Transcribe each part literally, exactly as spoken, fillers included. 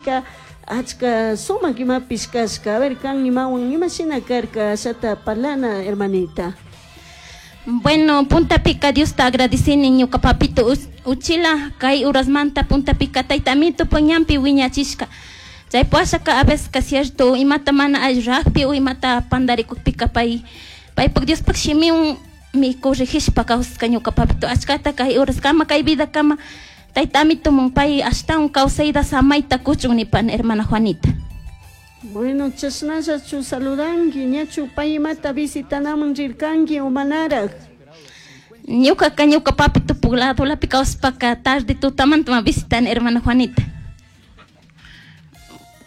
Chaypika achka sumak imapish kashka. A ver, kan imawan imashina karka ashata parlana, hermanita. Bueno, puntapika Diosta agradecini ñuka papito uchila kay urasmanta puntapika tayta amito ñanpi wiñachishka. Chay pashaka a veces ka cierto imata mana alli o imata pandarikukpika pay paypak Diospuk shimiwan mi corregishpa kawsashka ñuka papito achkata kay uraskama kay vida kama tayta amito pay ashtawan kawsayta samayta kuchun nipani, hermana Juanita. Bueno, chashnallachu saludanki, ñachu pay imata visitanaman rirkanki o manaraj? Ñukaka ñuka papito ladolapi kawsashpaka tarde tutamanta ma visitani, hermana Juanita.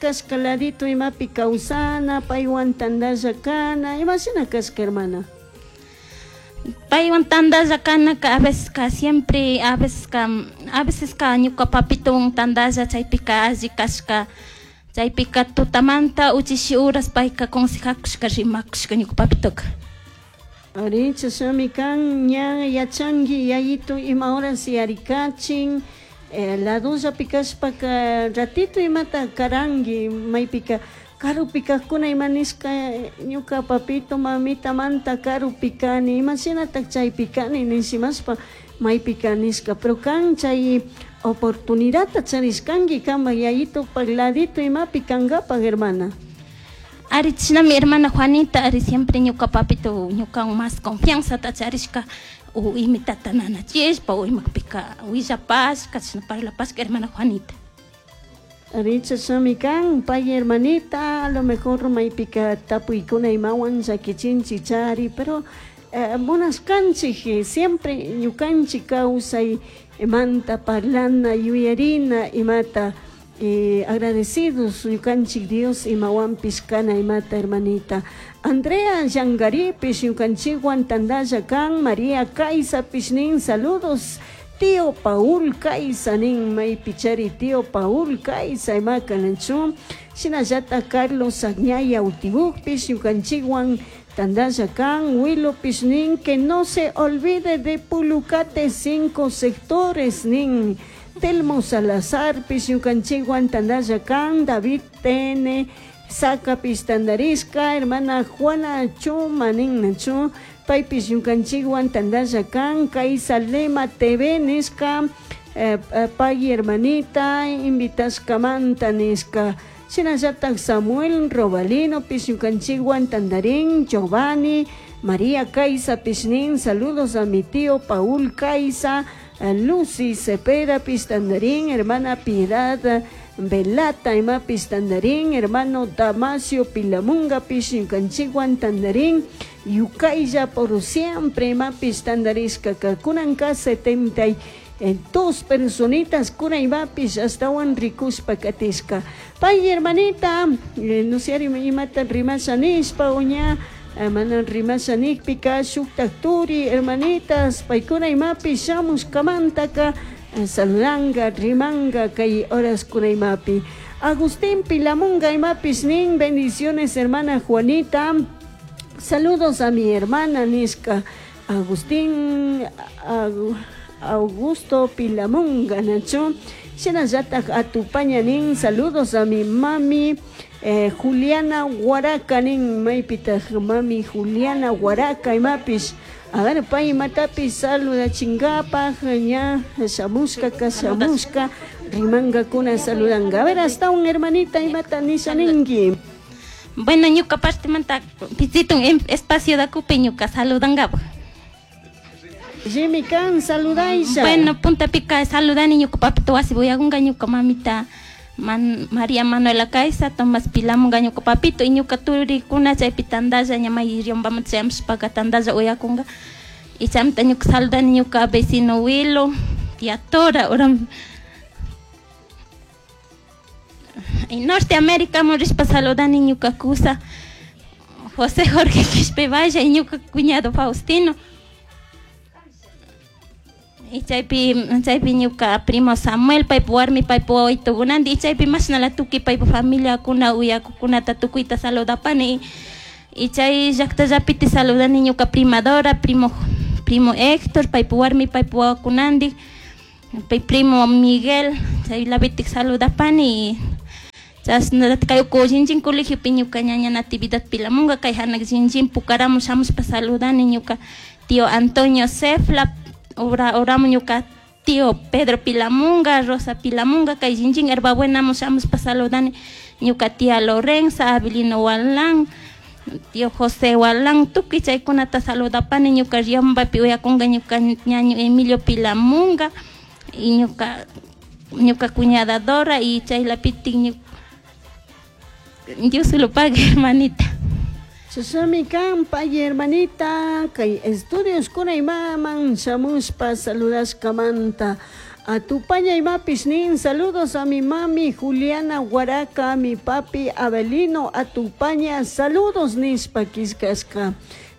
Kashka ladito imapi kawsana, paywan tandalla kana, imashina kashka, hermana? Paywan tandalla kanaka a veces ka siempre a veces ka a veces ka ñuka papito tandalla chaypika alli kashka chaypika tutamanta uchishi uras payka consejakushka rimakushka ñuka papitoka. Ari, chashnami kan ña yachanki yayito ima horas yarikachin, eh, ladollapi kashpaka ratito imata karanki maypika karupi kajkuna ima nishka ñuka papito mamitamanta karupi kani imashinatak chaypi kani nishimashpa maypika nishka, pero kan chay oportunidadta charishkanki kanpak yayitopak ladito imapi kankapak, hermana. Ari, chashnami, hermana Juanita, ari siempre ñuka papito ñukawan más confianzata charishka o imitata nanachishpa o imapika willapashka chashna parlapashka, hermana Juanita. Ari, chashnami kan pay, hermanita, a lo mejor maypika tapuykuna imawan llakichinchik chari, pero eh, munashkanchik siempre ñukanchik kawsay manta parlana yuyarina imata eh, agradecidos ñukanchik Dios imawanpish kana imata, hermanita. Andrea Yangaripis ñukanchikwan tandalla kan, María Kaisapish nin saludos tío Paul Kaisa nin maypichari tío Paul Kaisa imaka nanchu shinallata Carlos Añaya Utibukpish ñukanchikwan tandalla kan, Wilopis nin que no se olvide de Pulucate cinco sectores nin, Telmo Salazar pis ñukanchikwan tandalla kan, David T N Sacapis tandarishka, hermana Juana Chuma nin nachu paypis ñukanchikwan tandalla kan, Kaisa Lema T V nishka eh, eh, pay hermanita invitashkamanta nishka, shinallatak Samuel Robalino pis ñukanchikwan tandarin, Giovanni María Kaisa pis nin saludos a mi tío Paul Kaisa, Lucy Cepeda pis tandarin, hermana Piedad Velata imapis tandarin, hermano Damasio Pilamunga pis ñukanchikwan tandarin, Yukaylla por siempre imapis tandarishka kunanka setenta y dos personitas kuna imapis astawan rikushpa katishka. Pay, hermanita, eh, no sé imata rimasha nishpa o ña mana rimasha nikpika shuktak turi hermanitas paykuna imapis shamushkamantaka saludanga rimanga kay horas kuna imapi. Agustín Pilamunga imapis nin bendiciones, hermana Juanita, saludos a mi hermana nishka Agustín Augusto Pilamunga nachu shinallatak atupaña nin saludos a mi mami eh, Juliana Huaraca nin maypitaj mami Juliana Huaraca imapis a ver pay imatapis saludachingapaj ña shamushka ka shamushka rimankakuna saludanga. A ver, hasta un hermanita imata nisha ninki. Bueno, ñuka partemanta pisitun espacio dakupi ñuka saludangapaj. Jimmy kan saludaisha. Bueno, puntapika saludani ñuka papito wasi uyakunga ñuka mamita Man, María Manuela Kaisa, Tomás Pilamunga ñuka papito y ñuka turikuna chaypi tandalla ña may Riobambamanta chayamushpaka tandalla uyakunga y chaymanta ñuka saludani ñuka vecino Willo, tía Tora, ora en Norteamérica rishpa saludani ñuka kusa José Jorge Quispe Valle y ñuka cuñado Faustino y chaypi chaypi ñuka primo Samuel paypa warmi paypa wawitukunanti y chaypi mashnala tukuy paypa familiakuna uyakukunata tukuyta saludapani y chay llaktallapitik saludani ñuka prima Dora, primo primo Héctor paypa warmi paypa wawakunantik pay primo Miguel chaylapitik saludapani. Chashnallata kay uku Shinchín colegiopi ñuka ñaña Natividad Pilamunga kay hanak Shinchín Pukaramu shamushpa saludani ñuka tío Antonio Cefla, ura uramu ñuka tío Pedro Pilamunga, Rosa Pilamunga, kay Shinchín Herbabuenamu shamushpa saludani ñuka tía Lorenza, Abelino Walán, tío José Walán, tukuy chaykunata saludapani ñuka Riombapi uyakunga ñuka ñaño Emilio Pilamunga y ñuka ñuka cuñada Dora y chaylapitik ñuka Dios se lo pague, hermanita. Chashnami kan pay hermanita kay estudios kuna imaman shamushpa saludashkamanta. Atupaña imapish nin saludos a mi mami Juliana Huaraca, a mi papi Abelino Atupaña, saludos nishpa killkashka.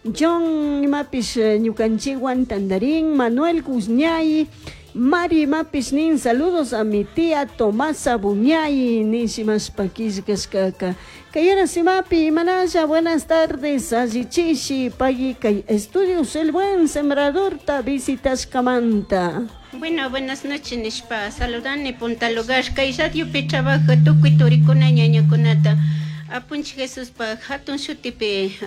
John imapish ñukanchikwan tandarin, Manuel Guzñay, Mari imapish nin saludos a mi tía Tomasa Buñay nishimashpa killkashkaka. Kay horas imapi imanalla buenas tardes allichishi pay kay estudios El Buen Sembradorta visitashkamanta. Bueno, buenas noches nishpa saludani punta lugar kay radiopi trabaja tukuy turikuna ñañakunata apunchik Jesuspa hatun shutipi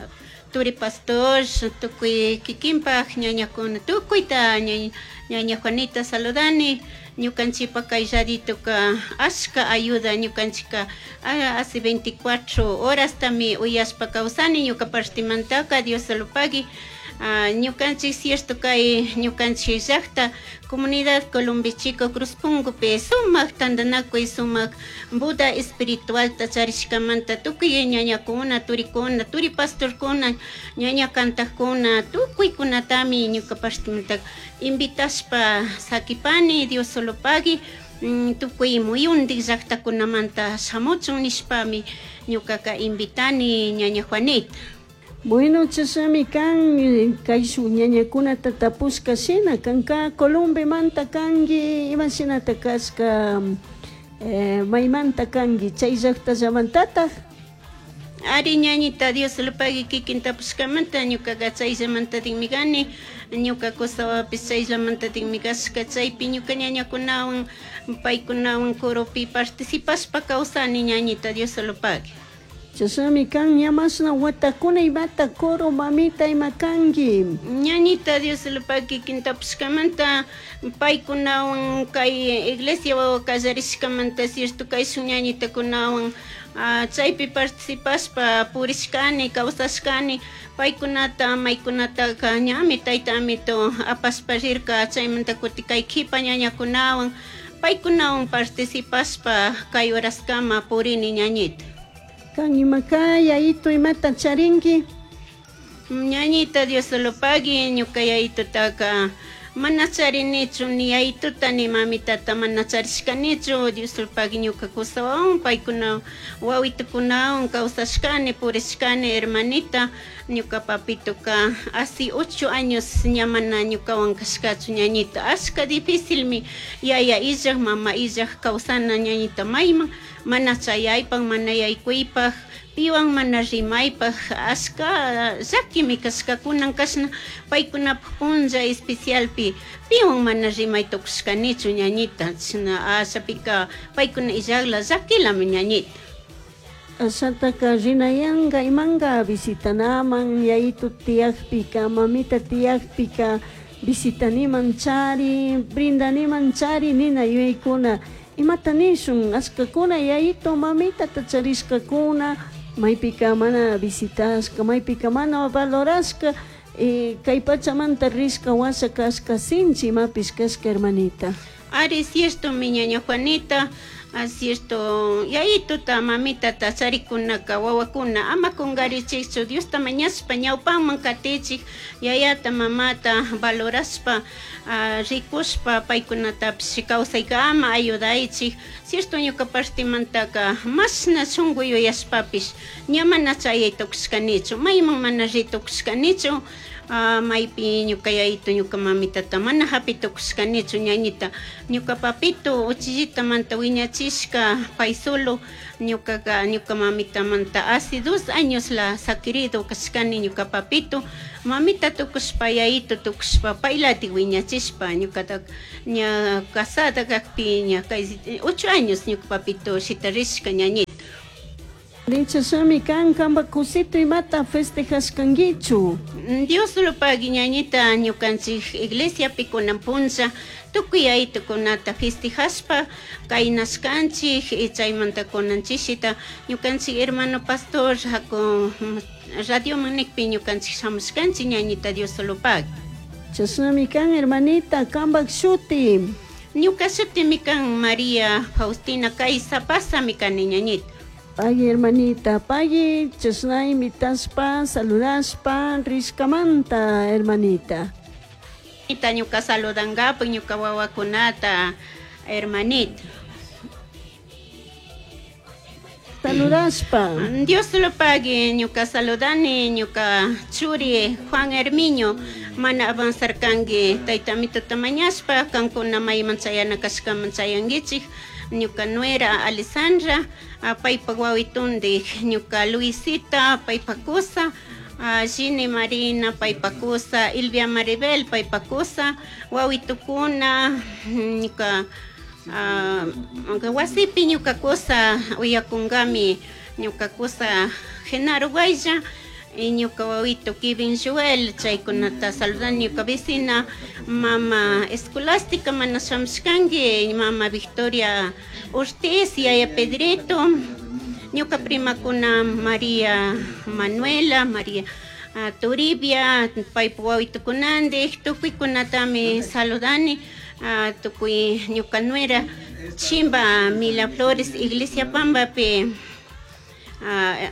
turi pastor tukuy kikinpaj ñañakuna tukuyta ñaña Juanita saludani ñukanchikpa kay radituka ashka ayuda ñukanchika hace veinticuatro horas tami uyashpa kawsani ñuka partimantaka Dios lo pague. Ñukanchik cierto kay ñukanchik llaqta comunidad Columbi Chico Cruzpungupi sumaq tantanakuy sumaq Buda espiritualta charishkamanta tukuy ñañakuna turikuna turi pastorkuna ñaña kantakuna tukuykunatami ñuka partimanta invitashpa sakipani Dios solo pague tukuy muyundik llaqtakunamanta shamuchun nishpami ñukaka invitani ñaña Juanita. Bueno, chashnami kan kayshuk ñañakunata tapushka shina kanka Colombemanta kanki ima shinata kashka eh, maymanta kanki chay llaqtallamantataq. Ari ñañita Dios lo pague kikin tapushkamanta ñukaqa chayllamantatikmi kani ñuka kusawapis chayllamantatikmi kashka chaypi ñuka ñañakunawan paykunawan coropi participashpa kawsani ñañita Dios lo pague. Chashnami kan ña mashna watakuna imata coro mamita ima kanki. Ñañita Dios lo pague kikin tapushkamanta paykunawan kay iglesia wawa kallarishkamanta cierto kayshun ñañitakunawan chaypi participashpa purishkani kawsashkani paykunata maykunataka ñami tayta amito apashpa rirka chaymanta kuti kay kipa ñañakunawan paykunawan participashpa kay horaskama purini ñañita. Kan imaka yayito imata charinki. Ñañita Dios lo pague ñuka yayitotaka mana charinichu ni yayituta ni mamitata mana charishkanichu Dios lo pague ñuka kusawan paykuna wawitukunawan kawsashkani purishkani hermanita ñuka papitoka hace ocho años ña mana ñukawan kashkachu ñañita ashka difícilmi yaya illaj mama illaj kawsana ñañita mayman mana chayaypaj mana yaykuypaj piwan mana rimaypaj ashka llakimi kashkakunan kashna paykunapaj punlla especialpi piwan mana rimay tukushkanichu ñañita chashna ashapika paykuna illajla llakilami ñañita. Ashataka rinayanga imanga visitanaman yayitu tiyakpika mamita tiyakpika visitaniman chari brindaniman chari nina yuyaykuna imata nishun ashkakuna yayito mamitata charishkakuna maypika mana visitashka maypika mana valorashka eh, kay pachamanta rishka washa kashka sinchi imapish kashka hermanita. Ari cierto mi ñaña Juanita, cierto yayituta mamitata charikunaka wawakuna ama kunkarichikchu Diosta mañashpa ñawpaman katichik yayata mamata valorashpa rikushpa paykunatapish kawsaykama ayudaychik cierto ñuka partimantaka mashna shunku yuyashpapish ña mana chayay tukushkanichu mayman mana ri tukushkanichu maypi ñuka yayito ñuka mamitata mana hapi tukushkanichu ñañita ñuka papito uchillitamanta wiñachishka pay solo ñukaka ñuka mamitamanta hace dos años la saquirido kashkani ñuka papito mamita tukushpa yayito tukushpa paylatik wiñachishpa ñukata ña casada kakpi ña kay ocho años ñuka papito shitarishka ñañita. Arichashami kan kamba kusito imata festejashkankichu. Dios lo pagui ñañita ñukanchik iglesia kunan punlla tukuy aytukunata festejashpa kaynashkanchik y chaymanta kunanchisita ñukanchik hermano pastor haku radio manikpi ñukanchik shamushkanchik ñañita Dios lo pagui. Chashnami kan hermanita kambak shuti. Ñuka shutimi kan María Faustina Kaysapasami kani ñañita. Pagui hermanita, pagui chashna invitaspa, saludaspa, rishkamanta hermanita. Ñuka saludangapak ñuka wawakunata hermanita. Saludaspa. Dios lo pague, ñuka saludani, ñuka churi Juan Hermiño, mana avanzar kangi, taytamito tamañaspa, kankuna mayman chayana kashkaman chayankichik, ñuka nuera Alessandra, paypa wawitundi, ñuka Luisita, paypa kusa, Gini Marina, paypa kusa, Ilvia Maribel, paypa kusa, wawitukuna, ñuka Uh, wasipi ñuka kusa uyakunkami ñuka kusa Genaro Guaya y ñuka wawito Kevin Joel chaykunata saludani ñuka vecina mama Escolástica mana shamushkanki mama Victoria Ortiz yaya Pedrito ñuka primakuna María Manuela María uh, Toribia paypa wawitukunandik tukuykunatami saludani. Uh, tukuy ñuka nuera Chimba Mila Flores Iglesia Pambapi uh,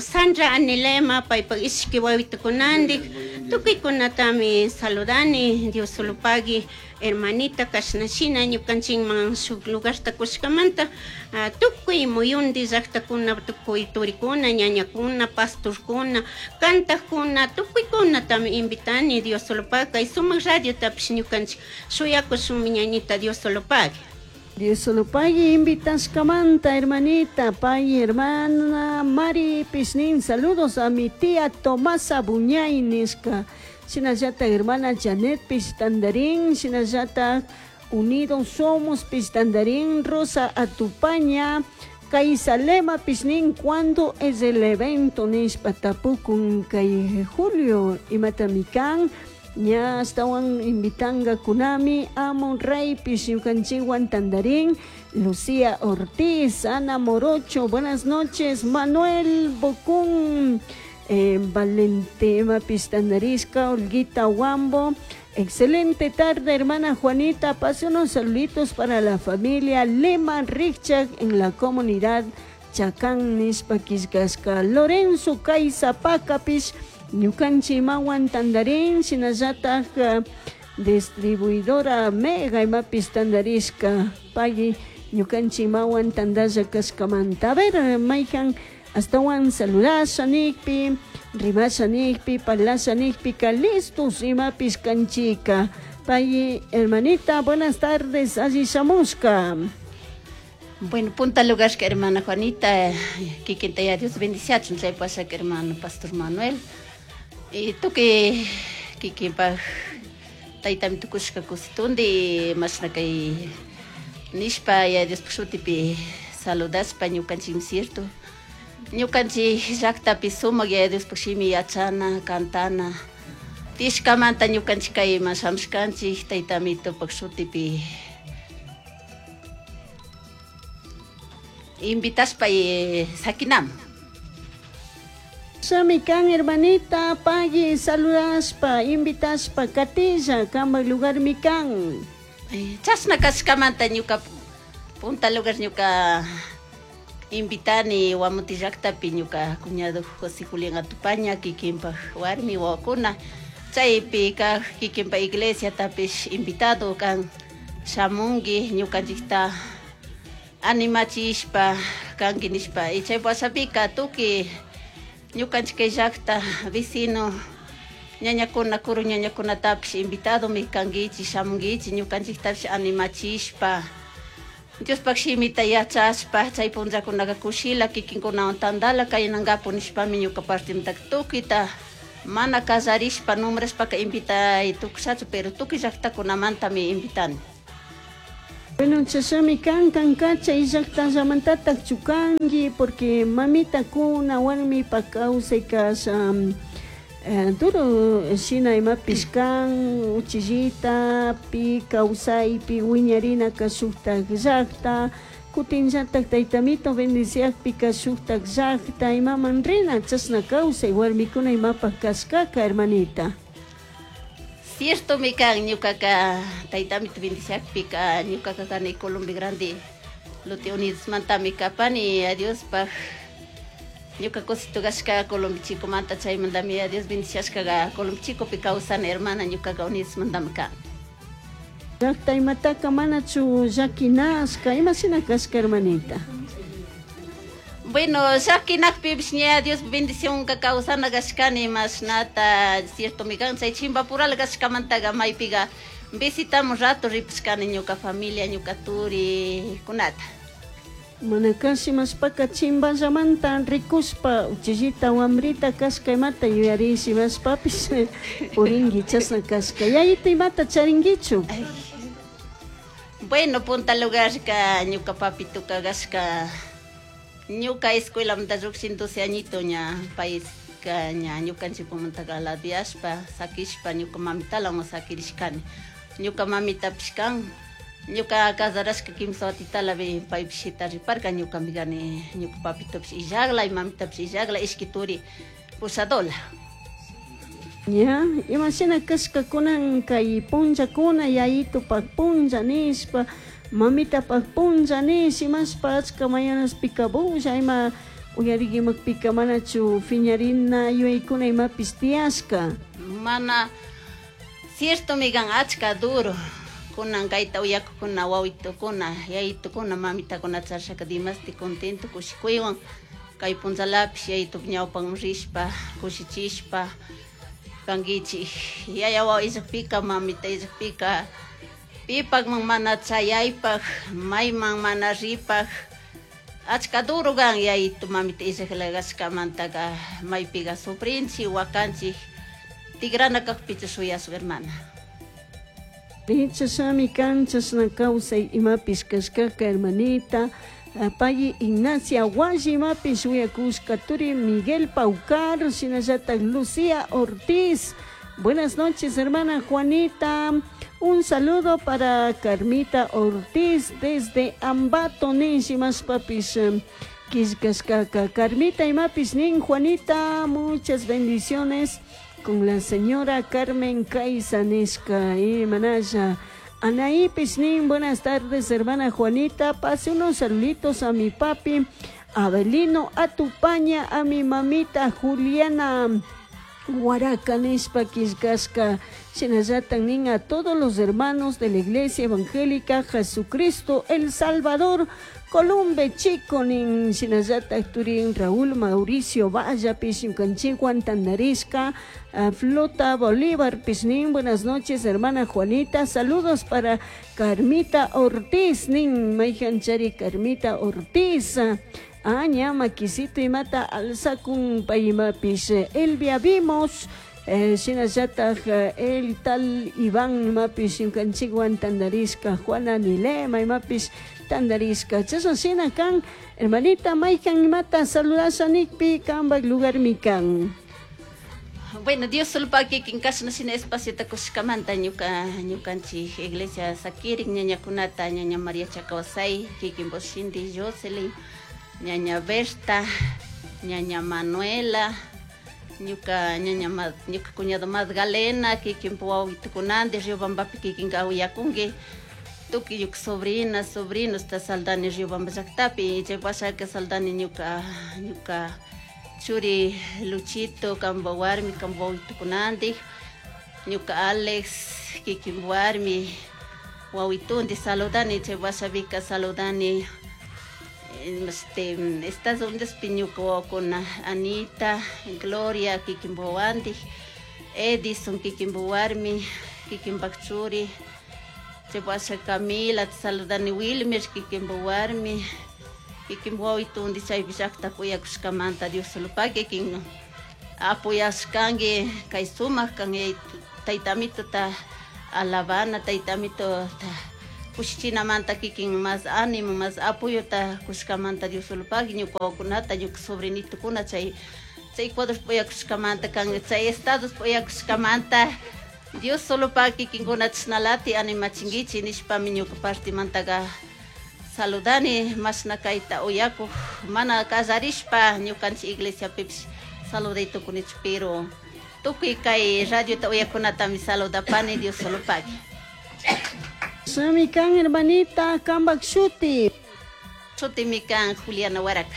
Sandra Anilema paypa ishki wawitukunandik tukuykunatami saludani Dios solo pagui hermanita kashnashina ñukanchikman shuk lugarta kushkamanta uh, tukuy muyundi llaqtakuna tukuy turikuna ñañakuna pastorkuna kantakuna tukuykunatami invitani Dios solo pagui kay sumak radiotapish ñukanchik shuyakushunmi ñañita Dios solo pagui. Dios solo pagui invitashkamanta hermanita, pay hermana Mari Pisnin, saludos a mi tía Tomasa Buñay nishka. Shinallata hermana Janet Pistandarín, shinallata Unidos Somos Pistandarín, Rosa Atupaña, Kaisalema Pisnin, ¿cuándo es el evento? Nishpa tapukun kay Julio imatamikan, ña astawan invitanga kunami, Amon Rey Pishiukanchiwan Tandarín, Lucía Ortiz, Ana Morocho, buenas noches, Manuel Bocún, Eh, Valentima Pistandarisca, Olguita Huambo, excelente tarde hermana Juanita, pase unos saluditos para la familia Lema Richak en la comunidad Chacán nishpa killkashka, Lorenzo Kaysapakapish, ñukanchik imawan tandarín, shinallatak uh, distribuidora Mega imapis tandarishka, pagui ñukanchik imawan tandalla kashkamanta. A ver, mayjan astawan saludasha nikpi, rimasha nikpi, parlasha nikpika, listos imapis kanchika. Pay, hermanita, buenas tardes, alli shamushka. Bueno, punta lugar que hermana Juanita, kikinta ya Dios bendiciachun, chay pasha que hermano Pastor Manuel. Y tú que kikinpa taytami tukushka kusitundi, mashna kay nishpa ya Dios shutipi saludashpa ñukanchikmi cierto. Ñukanchik llaqtapi sumak yaya Diospaq shimi yachana, kantana. Tishkamanta ñukanchik kayman shamushkanchik taytamitupak shutipi invitashpa sakinam. Shami kan hermanita, pagui saludashpa, invitashpa, katilla, kamba lugar mi kan. Chashna kashkamanta ñuka punta lugar ñuka invitani Guamuti llaqtapi ñuka cuñado José Julián Atupaña kikinpaj warmi wawakuna chaypi kaj kikinpa iglesia tapish invitado kan shamunki ñukanchikta animachishpa kanki nishpa y chay washapika tukuy ñukanchik kay llaqta vecino ñañakuna kuru ñañakunatapish invitadomi kankichik shamunkichik ñukanchiktapish animachishpa Diospaq shimita yachashpa chay punllakunaka kushila kikinkunawan tandala kaynankapu nishpami ñuka partimantaka tukuyta mana kallarishpa nombrashpaka invitay tukushachu pero tukuy llaqtakunamantami invitani. Bueno, chashami kan kanka chay llaqtallamantataq chukanki porque mamita kuna warmipa kawsay kasha eh, duro shina imapish kan uchillita pi kawsaypi wiñarinaka shuktak llaqta kutinllatak taytamito bendiciakpika shuktak llaqta imaman rina chashna kawsay warmikuna imapaq kashkaka hermanita. Cierto mi kan ñukaka taytamito bendiciakpika ñukaka kani Colombia Grande Lote Unidos mantami kapani a Diospaj ñuka cosito kashka Colombia Chico manta chaymantami a Dios bendiciashkaga Colombia Chicopi kawsani hermana ñukaka Unidos mantami kan. Llaqta imataka manachu llakinashka imashina kashka hermanita. Bueno, llakinakpipish ña Dios bendición ka kawsana kashkani mashnata cierto mi kan chay chimpapural kashkamantaga maypiga visitamos rato ripishkani ñuka familia ñuka turi kunata. Mana kashi mashpaka chimpallamanta rikuspa uchillita wamrita kashka imata yuyarishi mashpapish purinki chashna kashka yayita imata charinkichu. Ay. Bueno, punta lugarka ñuka papituka kashka ñuka escuelamanta llukshin doce añito ña payka ña ñukanchikmantaka ladiashpa sakishpa ñuka mamitalawan sakirishkani ñuka mamitapish kan ñuka casarashka kimsa watitalapi paypish shitariparka ñukami kani ñuka papitopish illakla y mamitapish illakla ishki turi pusadola. Ya, imashina kashka kunan kay punllakuna yayitupak punlla nishpa mamitapak punlla nish imashpa achka mañanaspika bulla ima uyarikimakpika manachu fiñarina yuyaykuna imapish tiyashka. Mana cierto mi kan achka duro kunan kayta uyakukuna wawitukuna yayitukuna mamitakuna charishaka dimasti contento kushikuywan kay punllalapish yayitup ñawpan rishpa kushichishpa kankichik yaya wawa illakpika mamita illakpika pipakman mana chayaypak mayman mana ripak achka duro kan yayitu mamita illakla kashkamantaka maypiga sufrinchik wakanchik tigrana kakpicha shuyasun hermana. Chashami kan chashna kawsay imapish kashkaka hermanita. Payi Ignacia Walli imapish uyakushka turi Miguel Paucar shinallatak Lucía Ortiz. Buenas noches, hermana Juanita. Un saludo para Carmita Ortiz desde Ambato nish imashpapish killkashkaka. Carmita imapis nin Juanita, muchas bendiciones con la señora Carmen Caiza nishka manaya. Anaí Pisnín, buenas tardes, hermana Juanita. Pase unos saluditos a mi papi Abelino Atupaña, a mi mamita Juliana Huaraca nishpa killkashka. Shinallatan nin a todos los hermanos de la Iglesia Evangélica Jesucristo El Salvador, Columbe Chico nin shinallatak turin Raúl Mauricio Valla pish ñukanchikwan tandarishka Flota Bolívar pishnin. Buenas noches, hermana Juanita. Saludos para Carmita Ortiz nin mayhanchari Carmita Ortiz. Aña makisito imata alzakun paymapish Elvia Vimos eh, shinallatak el tal Iván imapish ñukanchikwan tandarishka Juana Nilema imapish tandarishka. Chashna shina kan hermanita mayhan imata saludasha nikpi kanpak lugarmi kan. Bueno, Dios sulpa kikin kashna shina espaciota kushkamanta ñuka ñukanchik iglesia sakirik ñañakunata ñaña María Chacawasay kikin Boshindi Jocelyn ñaña Berta ñaña Manuela ñuka ñaña ñuka cuñado Magdalena kikin wawitukunanti Riobambapi kikin uyakunki tukuy ñuka sobrina sobrinos ta saldani Riobamba llaktapi chay pasaka saldani ñuka ñuka churi Luchito kanpa warmi kanpa wawitukunantik ñuka Alex kikin warmi wawitunti saludani chay wasapika saludani este Estados Unidos ñuka wawakuna Anita Gloria kikin wawantik Edison kikin warmi kikinpak churi chay washa Camila saludani Wilmer kikinpa warmi kikin wawitundi chaypi llakta uyakushkamanta Dios sulpa kikin apoyashkanki kay sumak kan taytamituta alabana taytamituta Kushichinamanta kikin más ánimo, más apoyota kushkamanta Dios solo pagui ñuka wawakunata, ñuka sobrinitukuna chay chay Ecuador uyakushkamanta kan chay estados uyakushkamanta Dios solo pagui kikinkuna chashnalati animachinkichik nishpami ñuka partimantaka saludani mashna kayta uyakuj mana kallarishpa ñukanchik iglesiapipish saluday tukunichu pero tukuy kay radiota uyakunatami saludapani Dios solo pagui. Sami kan hermanita kambak shuti. Shutimi kan Juliana Huaraca.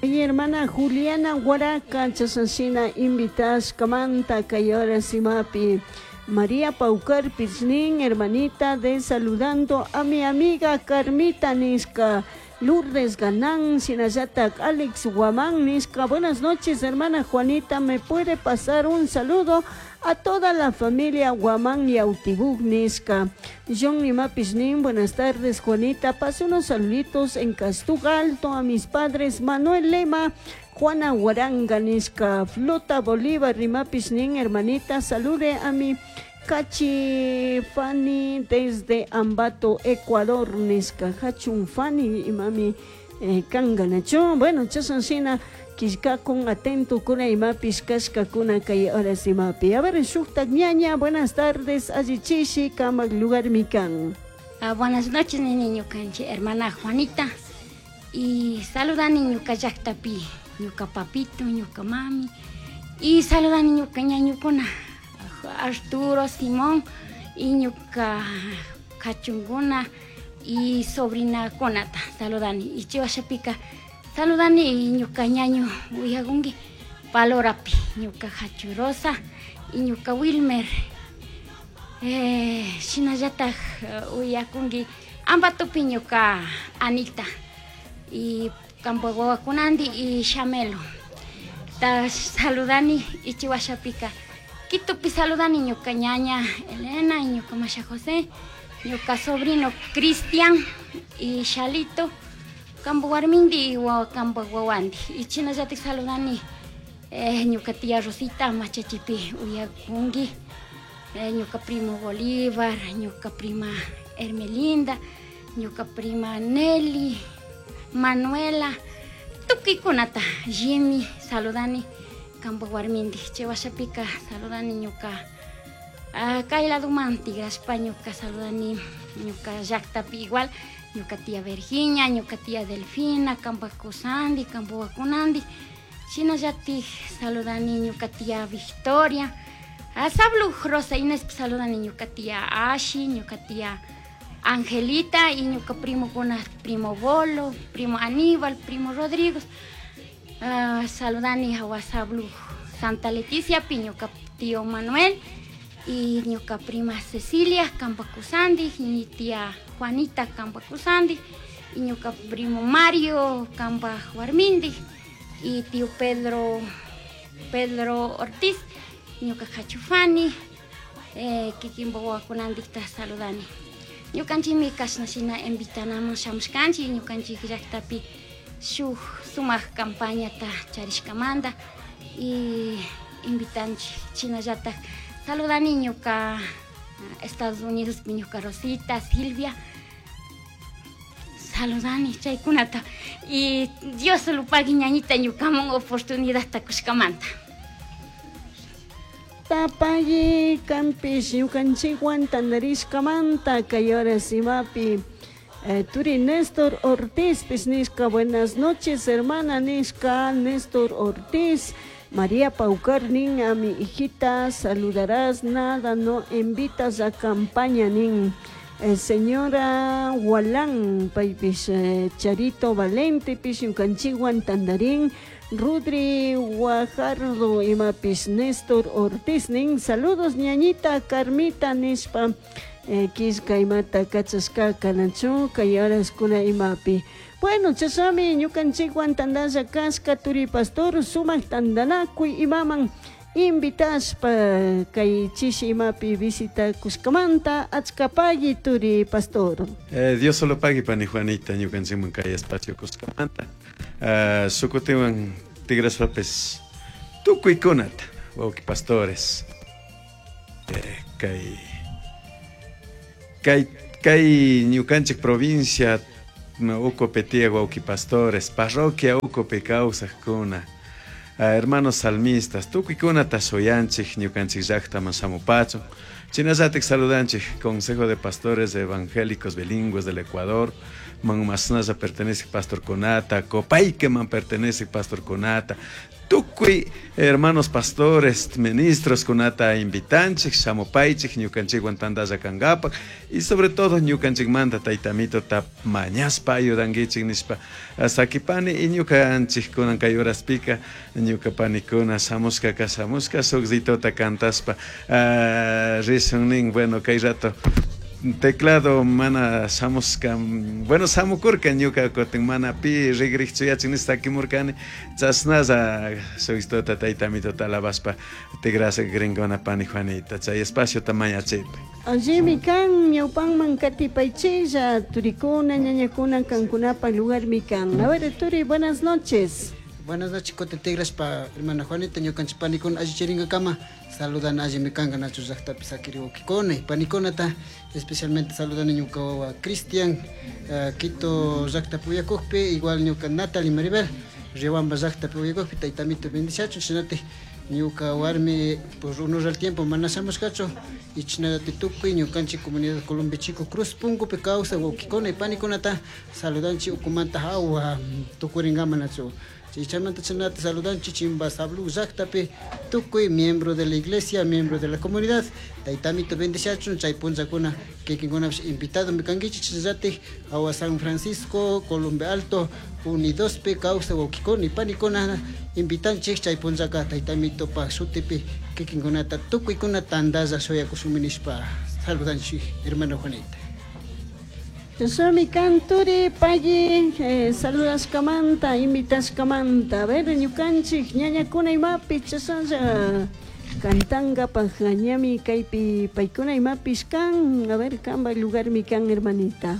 Mi hermana Juliana Huaraca chasasina invitashkamanta kay horas imapi. María Paucar Piznín, hermanita de saludando a mi amiga Carmita Nisca, Lourdes Ganán, Sinayatak, Alex Guamán Nisca. Buenas noches, hermana Juanita, ¿me puede pasar un saludo a toda la familia Guamán y Autibug Nisca? John Lima Piznín, buenas tardes, Juanita. Pase unos saluditos en Castug Alto a mis padres Manuel Lema, Juana Huaranga Nisca, Flota Bolívar, Rima Piznín, hermanita, salude a mi Cachi Fanny desde Ambato, Ecuador, Nisca, Hachun Fanny y mami eh, Kanganacho. Bueno, chasansina, con atento kuna imapis kashka kuna kay horas imapi. A ver, shuktak ñaña, buenas tardes, allichishi, kamak lugar mikan. Ah, buenas noches, niño kanchi, hermana Juanita. Y saludan ñuka llaqtapi, ñuka papito, ñuka mami. Y saludan ñuka ñañukuna, Arturo, Simón, y ñuka kachunguna y sobrina kunata, saludan. Y chiwashapika, saludan y ñuka ñaño uyagungi, palorapi, ñuka hachurosa y ñuka Wilmer. Eh, shinallataj uyakungi, ambatupi ñuka Anita. Y kampa wawakunandi y Shamelo. Ta saludani y chiwashapika. Quitupi saludani ñuka ñaña Elena y ñuka Masha José, ñuka sobrino Cristian y Shalito, kampa warmindi y kampa wawandi. Y chinallatik saludani eh, ñuka tía Rosita machachipi uyakungi, eh, ñuka primo Bolívar, ñuka prima Hermelinda, ñuka prima Nelly, Manuela, tukikunata, Jimmy, saludani, kampa warmindi, chiwashapika, saludani ñuka, ah, kayla dumanti, graspa ñuka, saludani, ñuka llaqtapi igual, ñuka tía Virginia, ñuka tía Delfina, kampa kusandi, kampa wakunandi, shinallatik saludani, ñuka tía Victoria, ah, sablu Rosa Inés, saludani, ñuka tía Ashi, ñuka tía Angelita y ñuka primo kuna, primo Bolo, primo Aníbal, primo Rodrigo. Uh, saludani a Sablu Santa Leticia, ñuka tío Manuel y ñuka prima Cecilia Campacusandi, y mi tía Juanita Campacusandi, y ñuka primo Mario Campa Huarmindi, y tío Pedro Pedro Ortiz, ñuka Hachufani, eh, kikimbo wakunandikta saludani. Ñukanchikmi kashnashina invitanaman shamushkanchik, ñukanchik llaqtapi shuk sumaq campañata charishkamanta y invitanchik chinallataj saludani ñuka Estados Unidos ñuka Rosita, Silvia, saludani chaykunata y Dios solo pagui ñañita ñukaman oportunidadta kushkamanta. Tapayi kampish ñukanchikwan tandarishkamanta kay horas imapi. Eh, Turi Néstor Ortiz pisnisca, buenas noches hermana nisca Néstor Ortiz. María Paucar nin, a mi hijita saludarás, nada no invitas a campaña nin. Eh, señora Walán paypis eh, Charito Valente pis ñukanchikwan tandarín. Rudri Guajardo imapis Néstor Ortiz nin, saludos ñañita Carmita nispa eh, kisca imata kachashka kanachu kay horaskuna imapi. Bueno, chasami ñukanchikwan tandalla kashka turi pastor sumaq tandanakuy imaman invitaspa kay chishi imapi visita kushkamanta achkapagui turi pastor. Eh, Dios solo pagui pani Juanita ñukanchikman kay espacio kushkamanta. Uh, sukutiwan tigraswapis tukuykunata wawqi pastores eh, kay kay Kay ñukanchik provincia ucupi tiyaq wawqi pastores, parroquia ucupi kawsaqkuna, hermanos salmistas, tukuykunata suyanchik ñukanchik llaqtaman shamupachun. Chinallatik saludanchik Consejo de Pastores Evangélicos Bilingües del Ecuador, man masnalla pertenece pastor kunata, Copaique man pertenece pastor kunata, tukuy hermanos pastores, ministros kunata invitanchik, shamupaychik, ñukanchikwan tantalla kankapak, y sobre todo ñukanchikmanta taytamituta mañaspa ayudankichik nishpa sakipani, y ñukanchik kunan kay horaspika ñuka panikuna shamushkaka shamushka shukzitota cantaspa rishun nin. Bueno, kay rato teclado mana shamushka, bueno, shamukurka ñuka kutin mana pi rigrikchu yachin nishpa sakimurkani, chashnalla shukzitota taytamituta alabashpa tigrasha gringona pani Juanita, chay espaciota mañachipay. Allimi kan ñawpanman katipaychilla turikuna ñañakuna kankunapa lugarmi kan. A ver, Turi, buenas noches. Buenas noches, kutin tigrashpa hermana Juanita, ñukanchik panikuna allichiringakama saludan allimi kanka nachu llaqtapi sakiri wawkikuna y panikunata, especialmente saludan ñuka wawa Cristian, uh, Quito llaqtapi uyakukpi, igual ñuka Natalie Maribel, Riobamba llaqtapi uyakukpi, taytamito bendiciachun, shinati ñuka warmi por uno al tiempo mana shamushkachu, y chinallati tukuy ñukanchik comunidad Colombia Chico Cruz Pungupi kawsaq wawkikuna y panikunata saludanchik ukumanta hawa tukuringama nachu. Chichamanta chinata saludanchik Chimba Sablu llaqtapi tukuy miembro de la iglesia, miembro de la comunidad, taytamito bendiciachun, chay punllakuna kikinkunapish invitado mi kankichik, chinallatik hawa San Francisco, Colombia Alto, Unidospi kawsaq wawkikuna y panikuna invitanchik chay punllaka taytamitopak shutipi kikinkunata tukuykuna tantalla shuyakushunmi nishpa saludanchik hermano Juanita. Chashnami kan turi payi eh, saludashkamanta, invitashkamanta. A ver, ñukanchik ñañakuna imapi chashnalla kantankapak ñami kaypi paykuna imapish kan. A ver, kanpak lugarmi kan, hermanita.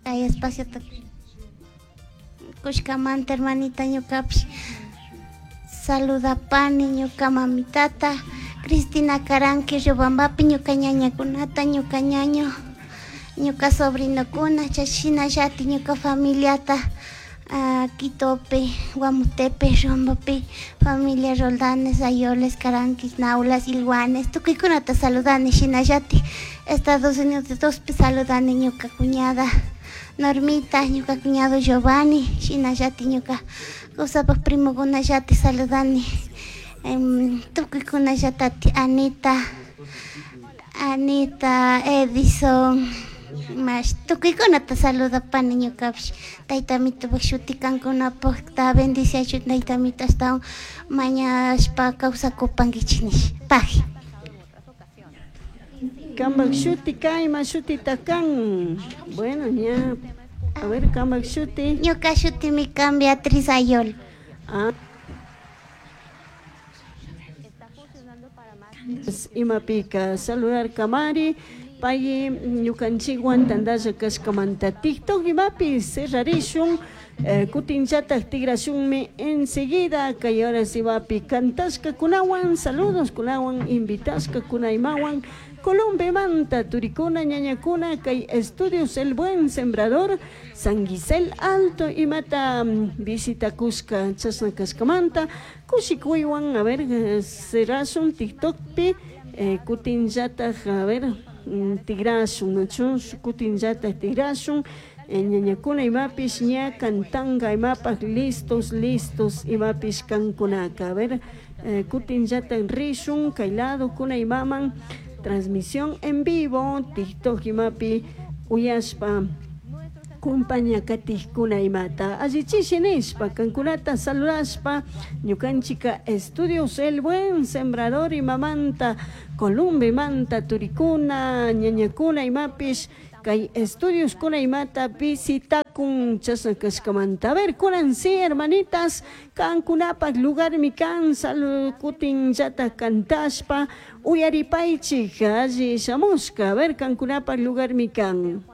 Kay espacio kushkamanta hermanita ñukapish saludapani ñuka mamitata Cristina Caranqui Riobambapi, ñuka ñañakunata, ñuka ñaño, ñuka sobrinokuna, chashinallati ñuka familiata uh, Quitopi, Guamutepe, Riobambapi, familia Roldanes, Ayoles, Caranquis, Naulas, Ilguanes, tukuykunata saludani, shinallati Estados Unidos saludani ñuka cuñada Normita, ñuka cuñado Giovanni, shinallati ñuka kusapak primokunallati saludani, um, tukuykunallatati Anita, Anita, Edison, mash tukuykunata saludapani ñukapish taytamitupak shuti kankunapakta bendiciachun taytamito ashtawan mañashpa kawsakupankichik nish paji. Kanpak shuti kayma shutita kan. Bueno, ña. A ver, kanpak shuti. Ñuka shutimi kan Beatriz Ayol. Ah. Imapika saludar kamari payi ñukanchikwan tantalla kashkamanta TikTok imapi cerrarishun eh, kutinllatak tigrashunmi enseguida kay horas imapi kantashkakunawan saludos kunawan invitashkakunaymawan Colombemanta turikuna ñañakuna kay Estudios El Buen Sembrador San Gisel Alto imata visitakushka chashna kashkamanta kushikuywan a ver cerrashun TikTokpi eh, kutinllatak a ver tigrashun nachu kutinllatak tigrashun ñañakuna imapish ña kantanka imapak listos listos imapish kankunaka a ver eh, kutinllatak rishun kay lado kuna imaman transmisión en vivo TikTok imapi uyashpa Acompaña katijkuna imata allichishi nishpa kankunata saludashpa ñukanchika estudios El Buen Sembrador imamanta Columbemanta turikuna ñañakuna imapish kay estudios kuna imata visitakun chashna kashkamanta. A ver, kunan sí, hermanitas, kankunapak lugarmi kan salud kutin llata kantashpa uyaripaychik alli shamushka. A ver, kankunapak lugarmi kan.